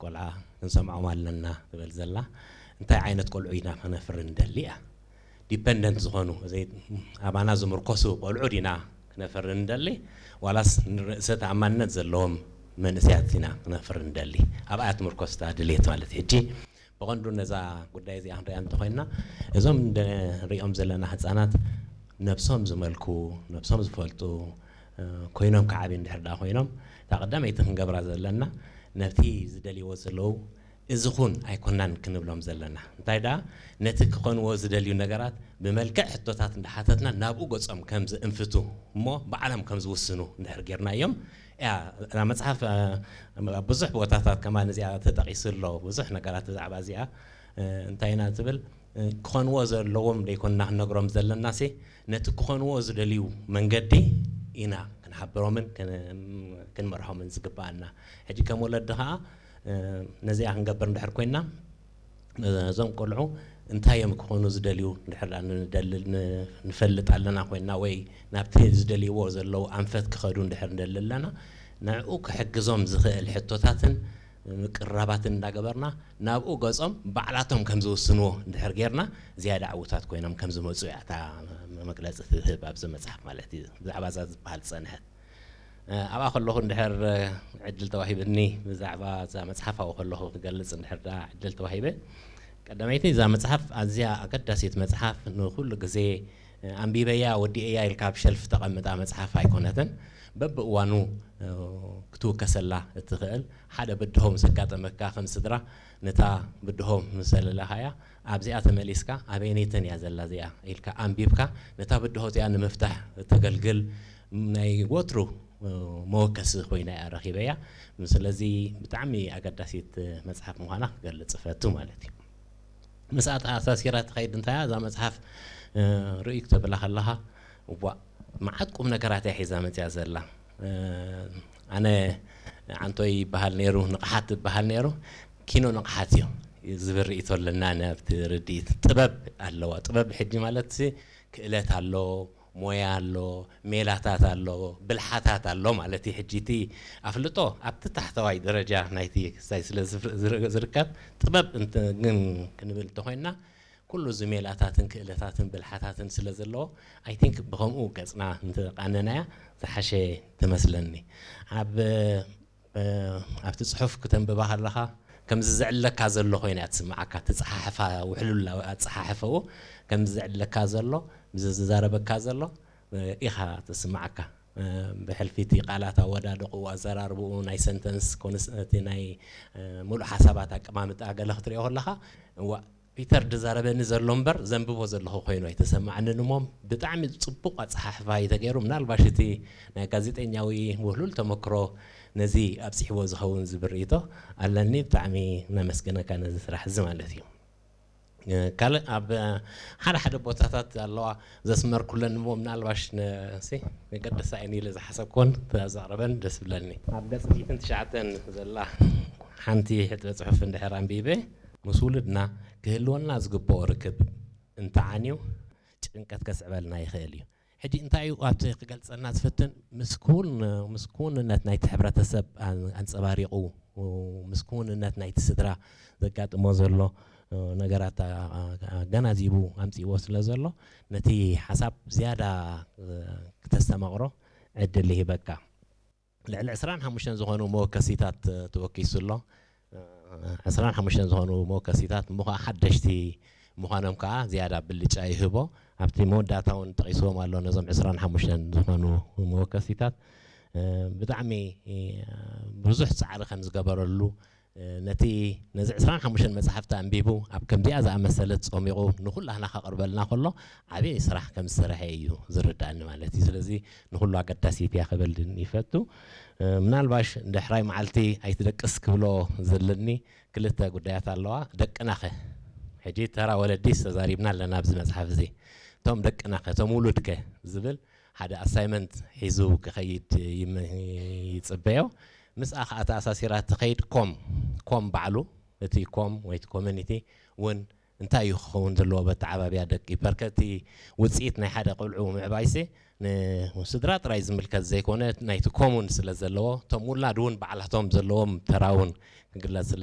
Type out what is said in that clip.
ቆልዓ ክንሰምዖም ኣለና ትብል ዘላ። እንታይ ዓይነት ቆልዑ ኢና ክነፍሪ ንደሊ እያ? ዲፐንደንት ዝኾኑ፣ ኣባና ዝምርኮሱ ቆልዑ ዲና ክነፍሪ ንደሊ፣ ዋላስ ንርእሰ ተኣማንነት ዘለዎም መንእሰያት ኢና ክነፍሪ ንደሊ? ኣብኣ ትምርኮስታ ድሌት ማለት እዩ። ሕጂ ብቐንዱ ነዛ ጉዳይ እዚኣ ክንሪኣ እንተኾይና፣ እዞም ንሪኦም ዘለና ህፃናት ነብሶም ዝመልኩ፣ ነብሶም ዝፈልጡ ኮይኖም ክዓብዩ እንድሕር ደኣ ኮይኖም፣ እታ ቀዳመይቲ ክንገብራ ዘለና፣ ነቲ ዝደልይዎ ዘለዉ እዚ ኹን ኣይኮናን ክንብሎም ዘለና። እንታይ ደኣ፣ ነቲ ክኾንዎ ዝደልዩ ነገራት ብመልክዕ ሕቶታት እንዳሓተትና ናብኡ ገጾም ከም ዝእንፍቱ እሞ ባዕሎም ከም ዝውስኑ እንድሕር ጌርናዮም፣ እያ እታ መጽሓፍ። ኣብ ብዙሕ ቦታታት ከማን እዚኣ ተጠቒሱ ኣሎ፣ ብዙሕ ነገራት ብዛዕባ እዚኣ። እንታይ ኢና ትብል? ክኾንዎ ዘለዎም ደይኮንና ክንነግሮም ዘለናሲ፣ ነቲ ክኾንዎ ዝደልዩ መንገዲ ኢና ክንሓብሮምን ክንመርሖምን ዝግባኣና። ሕጂ ከም ወለዲ ኸዓ ነዚኣ ክንገብር እንድሕር ኮይና፣ እዞም ቆልዑ እንታይ እዮም ክኾኑ ዝደልዩ እንድሕር ንፈልጥ ኣለና ኮይና፣ ወይ ናብቲ ዝደልይዎ ዘለዉ ኣንፈት ክኸዱ እንድሕር ንደሊ ኣለና፣ ንዕኡ ክሕግዞም ዝኽእል ሕቶታትን ምቅርራባትን እንዳገበርና ናብኡ ገጾም ባዕላቶም ከም ዝውስንዎ እንድሕር ጌርና፣ ዝያዳ ዕዉታት ኮይኖም ከም ዝመጹ እያ እታ መግለጺ ትህብ ኣብዚ መጽሓፍ ማለት እዩ። ብዛዕባ እዛ ዝበሃል ዝጸንሐት ኣብኣ ከለኹ እንድሕር ዕድል ተዋሂብኒ ብዛዕባ እዛ መጽሓፍ ኣብኡ ከለኹ ክገልጽ እንድሕር ደኣ ዕድል ተዋሂበ፣ ቀዳመይቲ እዛ መጽሓፍ ኣዝያ ኣገዳሲት መጽሓፍ፣ ንኹሉ ግዜ ኣንቢበያ ወዲኤያ ኢልካ ኣብ ሸልፍ ተቐምጣ መጽሓፍ ኣይኮነትን። በብእዋኑ ክትውከሰላ እትኽእል፣ ሓደ ብድሆ ምስ ኣጋጠመካ ከም ስድራ፣ ነታ ብድሆ ምስ ዘለለኻያ ኣብዚኣ ተመሊስካ ኣበየነይተን እያ ዘላ እዚኣ ኢልካ ኣንቢብካ ነታ ብድሆ እዚኣ ንምፍታሕ እተገልግል ናይ ወትሩ መወከሲ ኮይና እያ ረኺበያ። ስለዚ ብጣዕሚ ኣገዳሲት መጽሓፍ ምዃና ክገልጽ እፈቱ ማለት እዩ። ምስኣ ተኣሳሲራ ትኸይድ እንታይ እያ እዛ መጽሓፍ ርእዩ ክተብላ ከለኻ፣ እዋ መዓት ቁም ነገራት እያ ሒዛ መጽያ ዘላ። ኣነ ዓንቶይ ይበሃል ነይሩ፣ ንቕሓት ይበሃል ነይሩ፣ ኪኖ ንቕሓት እዩ ዝብል ርእይቶ ኣለና። ኣብቲ ርድኢት ጥበብ ኣለዋ። ጥበብ ሕጂ ማለት ክእለት ኣሎ፣ ሞያ ኣሎ፣ ሜላታት ኣሎ፣ ብልሓታት ኣሎ ማለት እዩ። ሕጂ እቲ ኣፍልጦ ኣብቲ ታሕተዋይ ደረጃ ናይቲ ክሳይ ስለ ዝርከብ፣ ጥበብ ግን ክንብል እንተኾይንና፣ ኩሉ እዚ ሜላታትን ክእለታትን ብልሓታትን ስለ ዘለዎ፣ ኣይ ቲንክ ብኸምኡ ገጽና እንተቓነናያ ዝሓሸ ትመስለኒ። ኣብ ኣብቲ ጽሑፍ ክተንብባ ከለኻ ከምዚ ዝዕለካ ዘሎ ኮይና እያ ትስምዓካ። ትጽሓሕፋ ውሕሉል ኣጸሓሕፈኡ ከምዚ ዝዕለካ ዘሎ፣ ምዚ ዝዛረበካ ዘሎ ኢኻ ትስምዓካ። ብሕልፊ እቲ ቃላት ኣወዳድቕኡ፣ ኣዘራርብኡ፣ ናይ ሰንተንስ ኮንስ-፣ እቲ ናይ ሙሉእ ሓሳባት ኣቀማምጣ ገለ ክትሪኦ ከለኻ፣ እዋ ፒተር ድዛረበኒ ዘሎ እምበር ዘንብቦ ዘለኹ ኮይኑ ኣይተሰማዕንን እሞ፣ ብጣዕሚ ጽቡቕ ኣጸሓሕፋ እዩ ተገይሩ። ምናልባሽ እቲ ናይ ጋዜጠኛዊ ውህሉል ተመክሮ ነዚ ኣብጺሕዎ ዝኸውን ዝብል ርእይቶ ኣለኒ። ብጣዕሚ ነመስግነካ ነዚ ስራሕ እዚ ማለት እዩ። ካልእ ኣብ ሓደ ሓደ ቦታታት ኣለዋ ዘስመርኩለን እሞ፣ ምናልባሽ ሲ መገደሳ እየን ኢለ ዝሓሰብኮን ተዘቕረበን ደስ ብለኒ። ኣብ ገጽ ሚእትን ትሽዓተን ዘላ ሓንቲ ሕጥበ ጽሑፍ እንድሕር ኣንቢበ፣ ምስ ውሉድና ክህልወና ዝግብኦ ርክብ እንተዓንዩ ጭንቀት ከስዕበልና ይኽእል እዩ። ሕጂ እንታይ እዩ ኣብቲ ክገልጸልና ዝፍትን? ምስ ክውን-፣ ምስ ክውንነት ናይቲ ሕብረተሰብ ኣን-፣ ኣንጸባሪቑ፣ ምስ ክውንነት ናይቲ ስድራ ዘጋጥሞ ዘሎ ነገራት ኣ-፣ ኣ-፣ ኣገናዚቡ ኣምጺእዎ ስለ ዘሎ፣ ነቲ ሓሳብ ዝያዳ ክተስተማቕሮ ዕድል ይህበካ። ልዕሊ ዕስራን ሓሙሽተን ዝኾኑ መወከሲታት ተወኪሱ ኣሎ። ዕስራን ሓሙሽተን ዝኾኑ መወከሲታት እሞ ኸዓ ሓደሽቲ ምዃኖም ከዓ ዝያዳ ብልጫ ይህቦ። ኣብቲ መወዳእታ እውን ጠቒስዎም ኣሎ ነዞም ዕስራን ሓሙሽተን ዝኾኑ መወከሲታት። ብጣዕሚ ብዙሕ ጻዕሪ ከም ዝገበረሉ፣ ነቲ፣ ነዚ ዕስራን ሓሙሽተን መጻሕፍቲ ኣንቢቡ ኣብ ከምዚኣ ዝኣመሰለት ጸሚቑ ንኹላህና ከቕርበልና ከሎ ዓብዪ ስራሕ ከም ዝሰርሐ እዩ ዝርዳእኒ ማለት እዩ። ስለዚ ንኹሉ ኣገዳሲት እያ ክብል ይፈቱ። ምናልባሽ ድሕራይ መዓልቲ ኣይትደቅስ ክብሎ ዘለኒ ክልተ ጉዳያት ኣለዋ። ደቅናኸ? ሕጂ ተራ ወለዲስ ተዛሪብና ኣለና ኣብዚ መጽሓፍ እዚ። እቶም ደቅናኸ፣ እቶም ውሉድከ ዝብል ሓደ ኣሳይመንት ሒዙ ክኸይድ ይም-፣ ይጽበዮ። ምስኣ ኸኣ ተኣሳሲራ ትኸይድ ኮም፣ ኮም ባዕሉ፣ እቲ ኮም ወይ እቲ ኮሚኒቲ እውን እንታይ እዩ ክኸውን ዘለዎ በቲ ዓባብያ ደቂ? በርከቲ ውጽኢት ናይ ሓደ ቆልዑ ምዕባይሲ ንስድራ ጥራይ ዝምልከት ዘይኮነ ናይቲ ኮሙን ስለ ዘለዎ፣ እቶም ውላድ እውን ባዕላቶም ዘለዎም ተራ እውን ክግለጽ ስለ